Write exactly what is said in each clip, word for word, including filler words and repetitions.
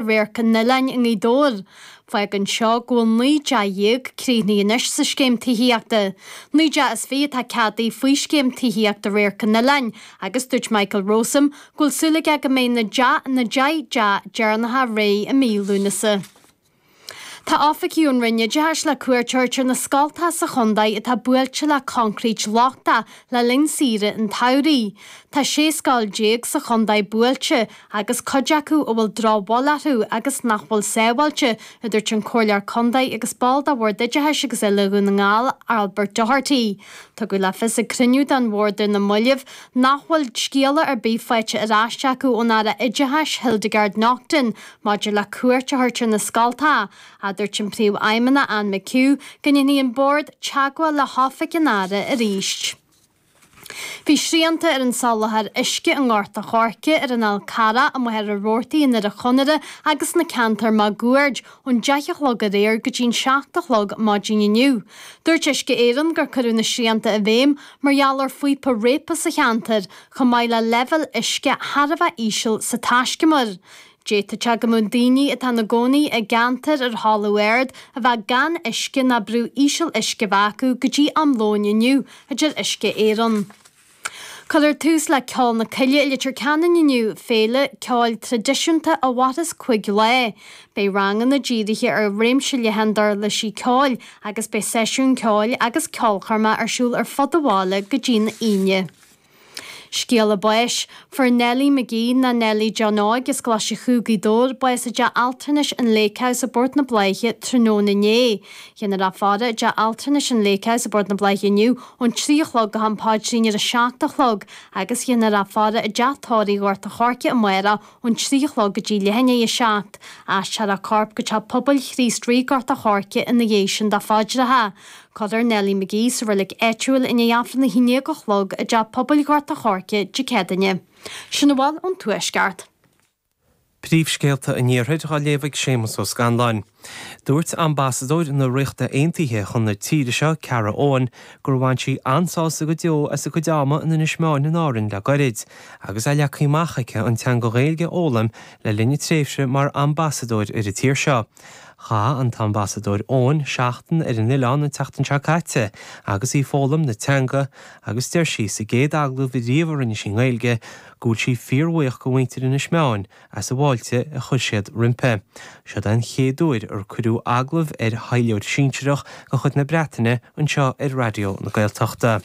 Radharc an Oileáin i nGaoth Dobhair. Fágann seo go bhfuil naoi dteach dhéag críochnaithe anois sa scéim tithíochta. Naoi dteach is fiche atá ceadaithe faoi scéim tithíochta Radharc an Oileáin agus dúirt Michael Rowsome go bhfuil súil aige go mbeidh na na deich dteach deireanacha réidh i mí Lúnasa. Tá oifigigh ón Roinn Oideachais le cuairt a thabhairt ar na scoltacha sa chontae atá buailte le concrete lochtach le linn saoire an tsamhraidh. Tá sé scoil déag sa chontae buailte agus cuid acu a bhfuil drochbhail orthu agus nach bhfuil sábháilte, a dúirt an Comhairleoir Contae agus ball de Bhord Oideachais agus Oile Dhún na nGall, Albert Doherty. Tugadh le fios ag cruinniú den bhord ar na mallaibh nach bhfuil scéala ar bith faighte ar ais acu ón Aire Oideachais Hildegarde Naughton maidir le cuairt a thabhairt ar na scoltacha. A dúirt an Príomhfheidhmeannach Anne McHugh go ndéanfaidh an bord teagmháil le hoifig an Aire arís. Bhí srianta ar an soláthar uisce i nGort a' Choirce ar an Fhál Carrach i Machaire Rabhartaigh i nDoire Chonaire agus sna ceantair máguaird ón deich a chlog aréir go dtí an seacht a chlog maidin inniu. Dúirt Uisce Éireann gur cuireadh na srianta i bhfeidhm mar gheall ar phíopa réabtha sa cheantar, chomh maith le leibhéal uisce thar a bheith íseal sa taiscumar. D'fhéadfadh sé go mbeadh daoine atá ina gcónaí i gceantair ar thalamh ard a bheith gan uisce ná brú íseal uisce a bheith acu go dtí am lóin inniu, a deir Uisce Éireann. Cuirfear tús le Ceol na Coille i Leitir Ceanainn inniu, féile ceoil traidisiúnta a mhairfeas cúig lá. Beidh ranganna dírithe ar réimse leathan d'uirlisí ceoil agus beidh seisiún ceoil agus ceolchoirme ar siúl ar fud an bhaile go dtí an Aoine. Scéala báis, Fuair Nellie McGee nó Nellie John Óig as Coláiste Chú Gaoth Dobhair bás i dteach altranais an Lake House i bPort na Bláiche tráthnóna inné. Dhéanfar í a fhaire i dteach altranais an Lake House i bPort na Bláiche inniu ón trí a chlog go ham paidrín ar a seacht a chlog agus dhéanfar í a fhaire i dteach tórraimh Ghort a' Choirce amárach ón trí a chlog go dtí leath i ndiaidh a seacht. Aistreofar a corp go teach pobail Chríost Rí Gort a' Choirce ina dhiaidh sin do phaidreacha. Cuirfear Nellie McGee sa reilig áitiúil i ndiaidh Aifreann a haon déag a chlog i dteach pobail Ghort a' Choirce Dé Céadaoine. Sin a bhfuil ón Tuaisceart. Príomhscéalta an Iarthair á léamh ag Séamus Ó Scanláin. Dúirt ambasadóir na Ríochta Aontaithe chun na tíre seo, Cara Owen, gur bhain sí an-sásamh go deo as a cuid ama in Inis Meáin in Árainn le gairid, agus é leagtha amach aici an teanga Ghaeilge a fhoghlaim le linn a tréimhse mar ambasadóir ar an tír seo. Chaith an t-ambasadóir Owen seachtain ar an oileán an tseachtain seo caite agus í ag foghlaim na teanga agus deir sí sa gcéad agallamh riamh a rinne sí i nGaeilge go bhfuil sí fíorbhuíoch go mhuintir Inis Meáin as an bhfáilte a chuir siad roimpi. Seo den chéad uair ar cuireadh agallamh ar thaidhleoir sinsearach de chuid na Breataine anseo ar Raidió na Gaeltachta.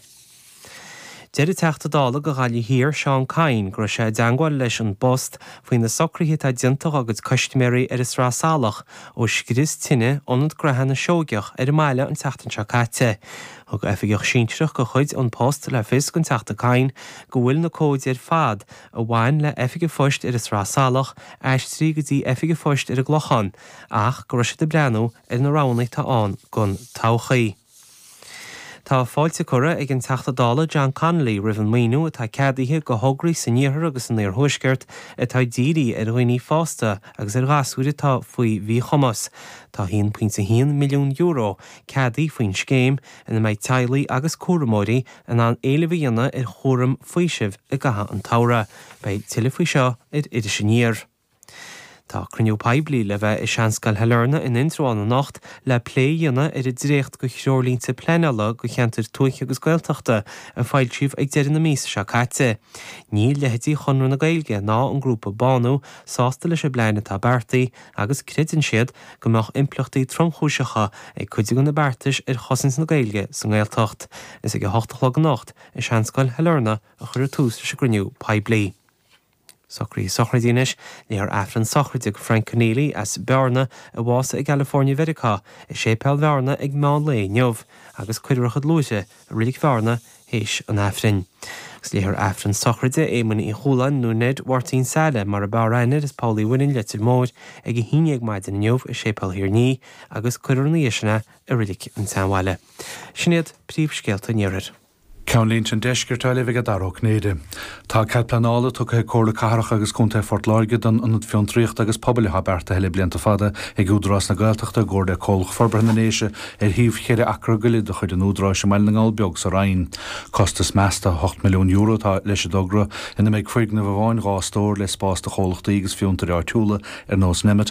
Deir an Teachta Dála do Ghaillimh Thiar, Seán Kyne, go raibh sé i dteagmháil leis An Post faoi na socruithe atá déanta dá gcuid custaiméirí ar an Sraith Salach ó scrios tine ionad gnaithe na Seoigeach ar an mbaile an tseachtain seo caite. Thug oifigeach sinsearach de chuid An Post le fios don Teachta Kyne go bhfuil na comhaid ar fad a bhain le oifig an phoist ar an Sraith Salach aistrithe go dtí oifig an phoist ar an gClochán ach go raibh siad ag breathnú ar na roghanna atá ann don todhchaí. Tá fáilte curtha ag an Teachta Dála John Connolly roimh an maoiniú atá ceadaithe do thograí san iarthar agus san iarthuaisceart atá dírithe ar dhaoine fásta agus ar ghasúir atá faoi mhíchumas. Tá haon pointe haon milliún euro ceadaithe faoin scéim ina mbeidh teaghlaigh agus cúramóirí in ann éileamh a dhéanamh ar chúram faoisimh i gcaitheamh an tsamhraidh. Beidh tuilleadh faoi seo ar Iris Aniar. Tá cruinniú poiblí le bheith i Seanscoil Shailearna in Indreabhán anocht le plé a dhéanamh ar an dréacht de threoirlínte pleanála do cheantair tuaithe agus Gaeltachta a foilsíodh ag deireadh na míosa seo caite. Níl leithéidí Chonradh na Gaeilge ná an grúpa Bánú sásta leis an bplean atá beartaithe agus creideann siad go mbeadh impleachtaí tromchúiseacha ag cuid de na beartais ar chosaint na Gaeilge sa nGaeltacht. Is ag a hocht a chlog anocht i Seanscoil Shailearna a chuirfear tús leis an gcruinniú poiblí. Socruithe sochraide anois, léifear Aifreann sochraide do Frank Conneely as Bearna a bhásaigh i gCalifornia Mheiriceá i Séipéal Bhearna ag meán lae inniu agus cuirfear a chuid luaithre i Reilig Bhearna théis an Aifrinn. Agus léifear Aifreann sochraide Éamoinn Uí Chualáin nó Ned Mháirtín Saile mar ab fhearr aithne air as Poll Uí Mhuirinn Leitir Móir ag a haon déag maidin inniu i Séipéal Thír an Fhia agus cuirfear ina dhiaidh sin é i Reilig an tSeanbhaile. Sin iad príomhscéalta an Iarthair. Ceannlínte an Deiscirt á léamh ag Dara Ó Cinnéide. Tá cead pleanála tugtha ag Comhairle Cathrach agus Contae Phort Láirge don Ionad Fiontraíochta agus Pobail atá beartaithe le blianta fada ag Údarás na Gaeltachta i gcomhar le Comhlacht Forbartha na nDéise ar shuíomh cheithre acra go leith de chuid an Údaráis i mBaile na nGall Beag sa Rinn. Costas measta ocht milliún euro atá leis an dtogra ina mbeidh foirgneamh amháin dhá stór le spás do chomhlachtaí agus fiontair áitiúla ar nós Nemeton